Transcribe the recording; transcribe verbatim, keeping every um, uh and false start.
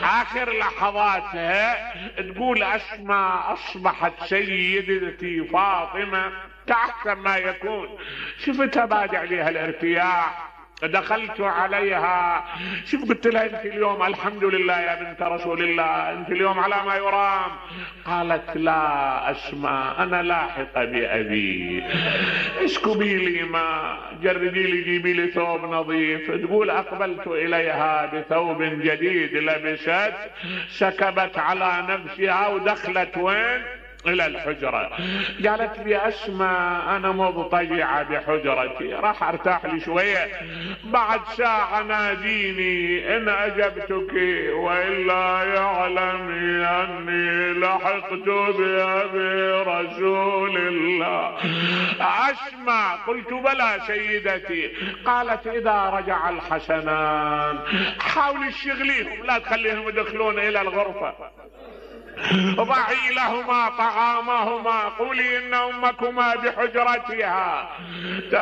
اخر لحظاتها تقول اسماء اصبحت سيدتي فاطمة كأحسن ما يكون. شفتها بادع عليها الارتياح، دخلت عليها، شوف قلت لها انت اليوم الحمد لله يا بنت رسول الله، انت اليوم على ما يرام. قالت لا اسماء انا لاحقة بابي، اسكبي لي ما، جردي لي، جيبي لي ثوب نظيف. تقول اقبلت اليها بثوب جديد لبست، سكبت على نفسها ودخلت وين؟ الى الحجرة. قالت لي اسماء انا مضطجعة بحجرتي، راح ارتاح لي شوية، بعد ساعة ناديني ان اجبتك والا يعلمي اني لحقت بابي رسول الله. اسمع، قلت بلى سيدتي. قالت اذا رجع الحسنان حاولي تشغليهم، لا تخليهم يدخلون الى الغرفة، ضعي لهما طعامهما، قولي ان امكما بحجرتها